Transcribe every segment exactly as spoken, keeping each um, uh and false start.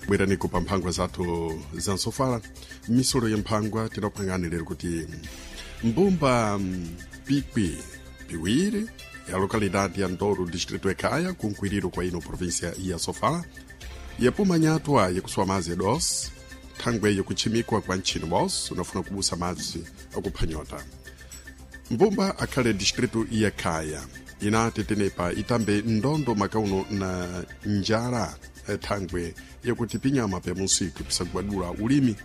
Bweraniko pa mphangwa zathu za nsofala, misolo ya mphangwa tinakupangani lero kuti mbumba pikwi piwiri ya localidade ya Ndoro, distrito ya Caia, kunkwiriro kwa ino província ya Sofala, yapuma nyatwa yakusuwa madzi ya doce, thangwe yakuchimikwa kwa ntchino bos unafuna kubusa madzi akuphwanyota. Mbumba akhale distrito ya Caia inati tenepa itambe ndondo makauno na njala thangwe yakuti pinyama pya musiku pisagwadula ulimi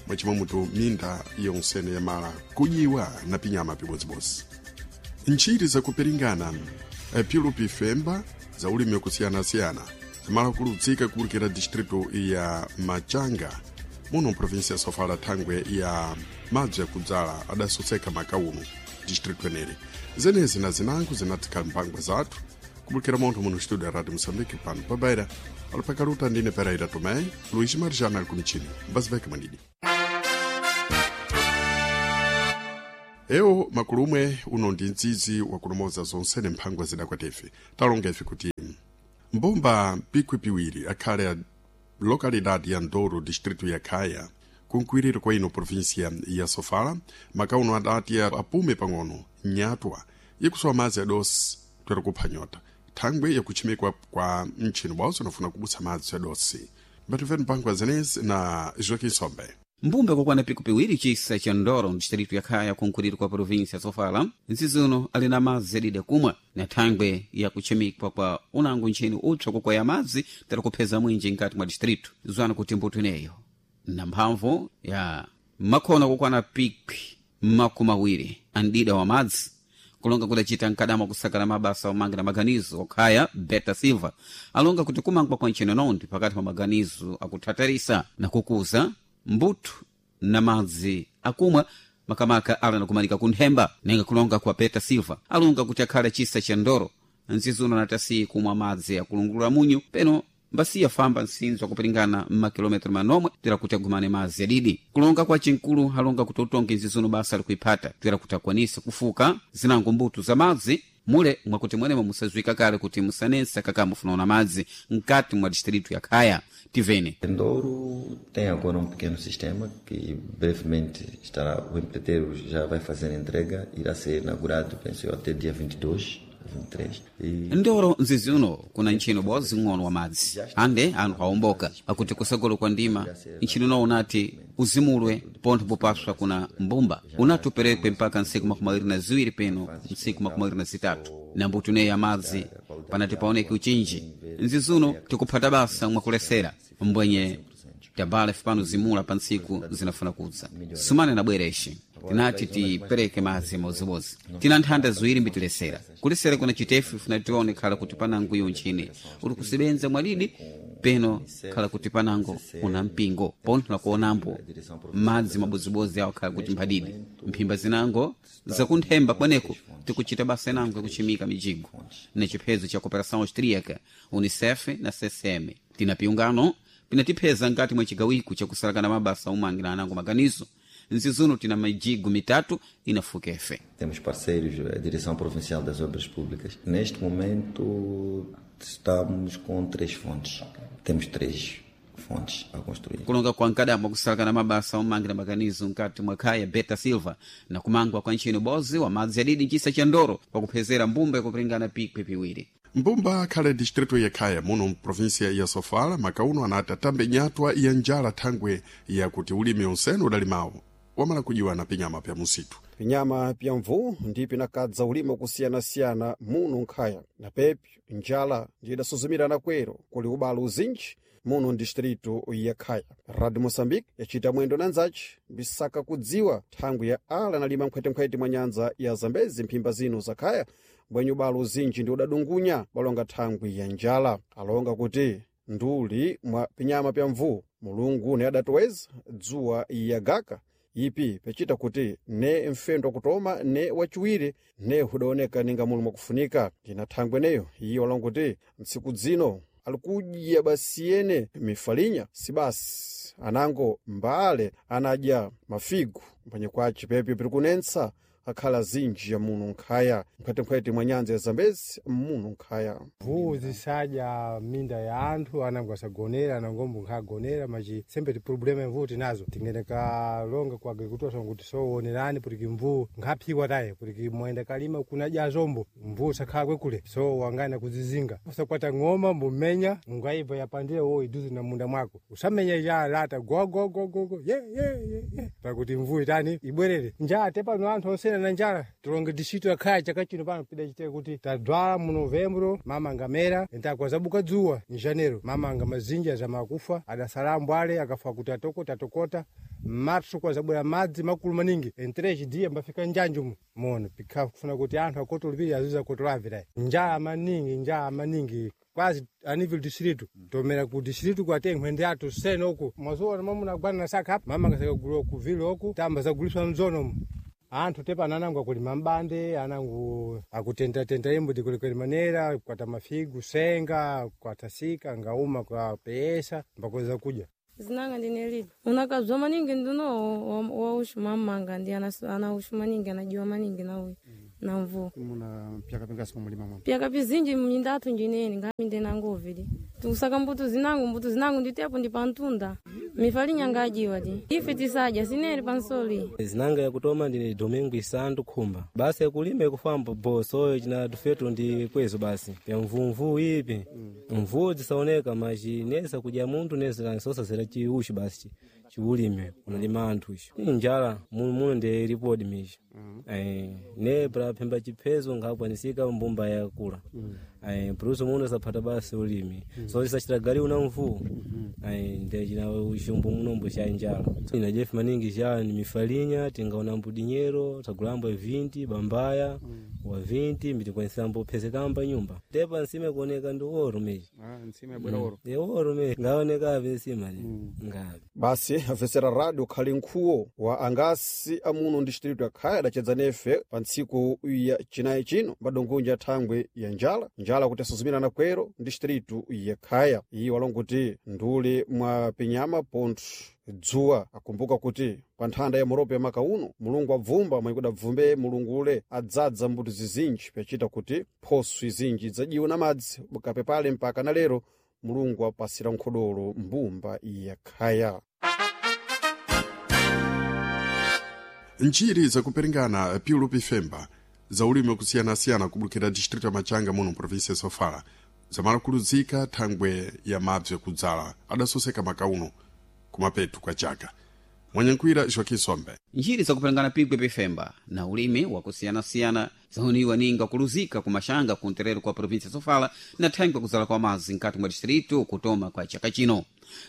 mwachimamutu minda yonsene yamala kujiwa na pinyama pibodzibodzi. Ntchiti zakupiringana pilu pifemba za ulimi wakusiyanasiyana zimala kuludzika kuwulikira distrito ya Machanga muno província ya Sofala, thangwe ya madzi yakudzala adasoseka makauno distrito eneri. Zenezi na zinango zinatikhala mphangwa zathu kubulikira montho muno studio ya Radio Moçambique pano pabaira alipakaluta ndine Pereira Tomé, Luís Marjana ali kumchini mbaziveke mwanidi. Ewo makulumwe uno ndi mdzidzi wakulomoza zonsene mphangwa zidakwatefe talonga ife kuti mbumba pikwi piwiri akhale a localidade ya Ndoro, distrito ya Caia, kunkwiriro kwa ino província ya Sofala, makauno adati apume pang'ono nyatwa ikusowa madzi adosi twera kuphwanyota thangwe yakuchimikwa kwa mtchino bwawo unafuna kubusa madzi adosi. Mbatimveni mphangwa zenezi na Joaquim Sombe. Mbumba kwakwana piku piwiri cisa cha Ndoro, distrito ya Khaya, kunkhuliro kwa província ya Sofala, nzizuno ali na madzi adidi kumwa na thangwe ya kuchimikwa kwa unango ntchini upsa kukwaya madzi tera kupheza mwinji nkati mwa distrito. Zwana kuti mbuto ineyo na mphamvu ya makhona kukwana pikwi makumi awiri andida wa madzi kulonga kudacita mkadama kusakala mabasa omangira na maganizo okhaya Beta Silva alonga kuti kumangwa kwa ntchino nondi pakati pa maganizo akuthatarisa na kukuza mbuto na madzi akumwa makamaka ala nakumanika kunthemba. Nenga kulonga kwa Beta Silva alonga kuti akhale chisa cha Ndoro nzizuno natasiyi kumwa madzi akulungulula munyu peno mbasiya famba nsinzo akupiringana mmakilometro manomwe twera kuti agumane madzi adidi. Kulonga kwa cinkulu alonga kuti utonge nzizuno basa likuiphata twera kuti akwanise kufuka zinango mbuto za madzi mule mwakuti mwenemo musazwika kale kuti musanensa kakamufunaona madzi mkati mwa distrito ya Khaya. Tivene Ndoro tem agora um pequeno sistema que brevemente estará, o empreiteiro já vai fazer a entrega, irá ser inaugurado, penso eu, até dia vinte e dois. vinte e três. E Ndoro nzizi uno kuna ntchino bodzi ng'ono wa madzi ande anthu awomboka akuti kusagolo kwa ndima ntchino no unati uzimulwe pontho popaswa kuna mbumba unati uperekwe mpaka ntsiku makumi awiri na ziwiri peno ntsiku makumi awiri na zitatu na mbuto ineyi ya madzi panati paoneke uchinji. Nzizuno tikuphata basa mwakulesera mbwenye tabala pano zimula pa ntsiku zinafuna kudza sumane na bwera ixi tinati tipereke madzi modzimodzi tina nthanda ziwiri mbitilesera kulesera kuna chitefu funa tione khala kuti panango iyo ntchini uli kusebenza mwadidi peno khala kuti panango una mpingo pontho nakuonambo madzi mabodzibodzi awo khala kuti mphadidi mphimba zinango zakunthemba kweneko tikuchita basa inango yakuchimika mijigo na chiphezo cha cooperação austríaca, Unicef na C C M. Tina piungano pinatipheza nkati mwa chigawiko chakusalakana mabasa omangira anango maganizo. Nzizuno tina mijigo mitatu inafuka efe. Temos parceiros, a Direção Provincial das Obras Públicas. Neste momento estamos com três fontes. Temos três fontes a construir. Kulonga kwa nkadambo kusalakana mabasa omangira maganizo nkati mwa khaya Beta Silva na kumangwa kwa ntchino bozi wa madzi adidi nchisa cha Ndoro kwakuphezera mbumba yakupiringana pikwi piwiri. Mbumba akhale distrito ya Khaya muno mprovíncia ya Sofala makauno anati atambe nyatwa ya njala thangwe yakuti ulimi onsene udalimawo wamala kujiwa na pinyama pya musitu. Pinyama pya mvu ndi pinakadza ulimi wakusiyanasiyana muno nkhaya na pepyo njala ndidasuzumirana kwero kuli ubalo uzinji muno ndistrito ya Khaya. Radio Moçambique yacita mwendo na nzaci mbisaka kudziwa thangwi ya ala analima nkhwetenkhwete mwa nyanza ya Zambezi mphimba zino za Khaya mbwenye ubalo uzinji ndi udadungunya balonga thangwi ya njala. Alonga kuti nduli mwa pinyama pya mvu Mulungu ne adatoweza dzuwa yagaka ipi pecita kuti ne mfendo wakutoma ne wachiwiri ne hudaoneka ninga muli mwakufunika. Ndina thangwi eneyo iye walonga kuti ntsiku dzino alikudya basiyene mifalinya sibasi anango mbale anadya mafigu mphwanye kwace pepyo piri kunensa akhala zinji ya muno nkhaya mphwetempwete mwa nyanza ya Zambezi muno nkhaya. Mvuu zisadya minda ya anthu, anango asagonera, anangombo nkhagonera machi sembe ti problema mvuu tinazo tingene kalonga kwa agricultura kuti soonerani kuti mvuu nkhaphiwa taye kuti mwenda kalima kunadya zombo mvuu sakhala kwekule so wangana kuzizinga usakwata ng'oma mbumenya ungaibva yapandire wo iduze na munda mwako usamenya ya lata gogogogogo ye ye ye ye pakuti mvuu itani ibwerere njala te pano anthu onsena na njala tilonge distrito yakhaya chaka chino pano pida chite kuti tadwala mu novembro mama ngamera entakwazabuka dzuwa mjanero mama nga mazinja zamakufa adasala ambwale akafa kuti atokota atokota marso kwazabwera madzi makulu maningi entreji dia mbafika njanju mono pikha kufuna kuti anthu akotolipira aziza kotolavira njala maningi njala maningi quase a nível distrito tomera ku distrito kwate nkhwende athu sene uku mazuwa mamuna agwana na saka apa mama ngasakagulwa ku vilo uku tamba zaguliswa mzono anthu tepa anangu akulima mbande anangu akutentatenta imbo tikulikweli manera kukwata mafigu senga kukwata sika ngauma kwa peesa mbakweza kudya. Zinanga ndinelili unakazwa maningi ndino waushu mamanga ndi anaushu maningi anajiwa maningi na uyu na mvua. Muna pyaka pingasi mumulima mwa pyaka pizinji minda athu njineni ngaminde nangovili tikusaka mbuto zinangu mbuto zinangu nditepo ndi pantunda mifalinya ngajiwa ti ife tisadya sineri pansoli. Zinanga yakutoma ndine Domingo Isandu Khumba basi yakulima ikufamba bosoyo china tufetu ndi kwezo basi pya mvumvu ipi mvuu zisaoneka machi nesa kudya munthu nesa sosasera chiushi basi chiulime unalima anthu icho njala muno muno ndi ripodi michi eh ne pra phemba chiphezo ngakwanisika mbumba yakula eh pruso muno saphata basi ulimi so tisachita gali una mvuu eh ndi china ushumbu munombo cha njala ina jefu maningi cha ni mifalinya tingaona mbudinyero tagulambo vinti bambaya wa vinti mitikwanisa phesekamba nyumba tepa nsime kuoneka ndi oro mechi ah nsime bwera oro e oro me ngaoneka ave nsima ni ngabe basi afesera radio khali nkhuwo wa angasi amuno distrito akhaya adachedza nefe pa ntsiku ya chinayi chino mbadongonja thangwe ya njala njala kuti asuzumirana kwero distrito ya khaya iyi walonguti nduli mwa pinyama pontho dzuwa akumbuka kuti pa nthanda ya moropo ya maka uno Mulungu abvumba mwe kudabvumbe Mulungu ule adzadza mbuto zizinji pyachita kuti phoso izinji idzajiwa na madzi bukapepale mpaka na lero Mulungu apasira nkhodolo mbumba ya khaya. Njiri zakuperingana piulu pifemba za ulimi wakusiyanasiyana kubulukira distrito ya Machanga muno provinsia ya Sofala zamalakuluzika thangwe ya mabzi yakudzala adasoseka makauno kumapetu kwa chaka. Mwanyankhwira Joaquim Sombe. Njiri zakupelengana pigwe pifemba na ulimi wakusiyanasiyana zaoniwa ninga kuluzika kumashanga kunterero kwa provinsia ya Sofala na thangwe kuzala kwa mazi nkati mwa distrito kutoma kwa chaka chino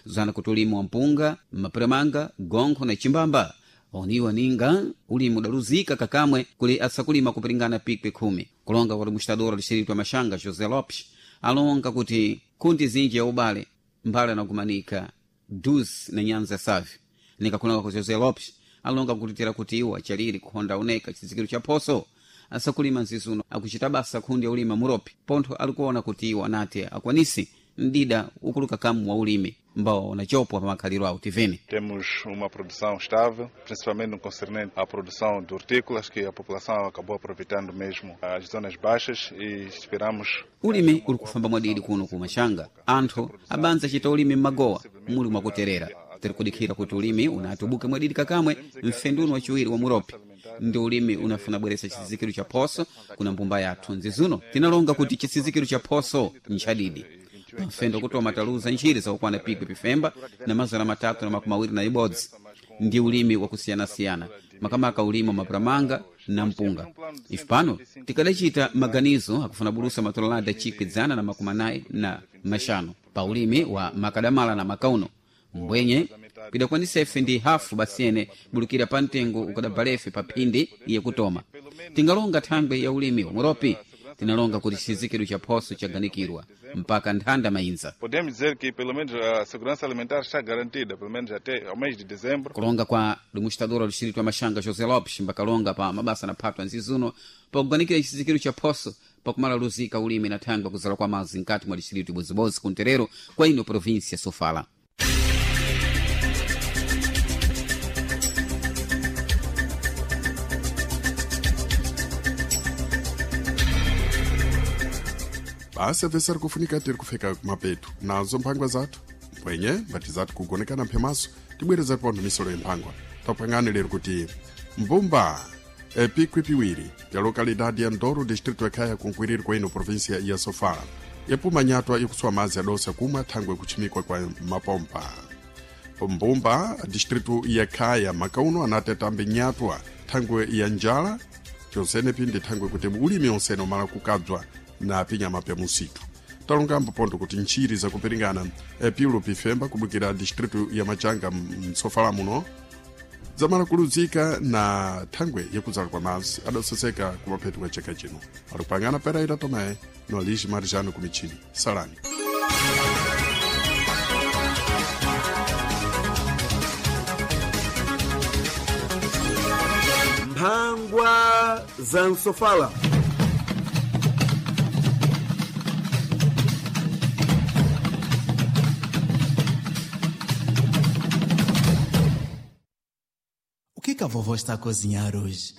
zana kuti ulimi wa mpunga mapuremanga gonkho na chimbamba oniwa ninga ulimi udaluzika kakamwe kuli asakulima kupiringana pikwe khumi. Kulonga kwa administrador distrito ya Machanga José Lopes alonga kuti kundi zinji ya ubale mbale anakumanika dus na nyanza safi nikakulonga ku José Lopes alonga kutitira kuti iwo achaliri kuhonda oneka chizikiro cha phoso asakulima nzizuno akuchita basa kundi ya ulima muropi pontho alikuona kuti iwo anati akwanisi mdida ukuluka kamu wa ulimi mbao unachopwa pa makhaliro awo tivene. Temos uma produção estável, principalmente no concernente à produção de hortícolas, que a população acabou aproveitando mesmo as zonas baixas e esperamos. Ulimi uli kufamba mwadidi kuno ku Machanga anthu abanza chita ulimi mmagowa muli mwakuterera tiri kudikhira kuti ulimi unatubuke mwadidi kakamwe mfenduno wachiwiri wa muropi ndi ulimi unafuna bweresa chizizikiro cha phoso kuna mbumba yathu nzizuno tinalonga kuti chisizikiro cha phoso nchadidi pamfendo kutoma taluza nchiri zakukwana pikwi pifemba na mazana matatu na makumi awiri na ibodzi ndi ulimi wakusiyanasiyana makamaka ulimi wa mapuramanga na mpunga. Ife pano tikadachita maganizo akufuna bulusa matololada chikwi dzana na makumi anayi na mashanu pa ulimi wa makadamala na makauno mbwenye kudakwanisa ife ndi hafu basiyene bulukira pa mtengo ukadabalefe pa phindi iye kutoma tingalonga thangwe ya ulimi wa muropi tinalonga kuti chizikiro cha phoso chaganikirwa mpaka nthanda mayinza. Podemos dizer que pelo menos a segurança alimentar está garantida, pelo menos até ao mês de dezembro. Kulonga kwa administrador wa distrito wa Machanga José Lopes mbakalonga pa mabasa na phatwa nzizuno pakuganikira chizikiro cha phoso pakumala luzika ulimi na thangwe kuzala kwa mazi nkati mwa distrito ibozibodzi kunterero kwa ino província Sofala. Basi avesari kufunika tiri kufika kumapetu nazo mphangwa zathu mpwenye mbati zathu kugonekana mphemaso tibwereza pontho misolo yemphangwa. Tapangani lero kuti mbumba epikwi piwiri ya lokalidade ya Ndoro, distrito yakhaya kunkwiriri kwa ino província ya Sofala, yapuma nyatwa ikutswa madzi adosa kumwa thangwe kuchimikwa kwa mapompa. Mbumba distrito ya Khaya makauno anatetambe nyatwa thangwe ya njala chonsenepi ndi thangwe kuti ulimi onsene umala kukadzwa na pinyama pya musitu. Talongambo pontho kuti ntchiri zakupiringana piulu pifemba kubukira distrito ya Machanga msofala muno zamala kuluzika na thangwe yakudzala kwa madzi adasoseka kumaphetu kwa chaka chino. Alipangana Pereira Tomé no Aligi Marijano kumichini. Salani. Mphangwa za msofala. O que que a vovó está a cozinhar hoje?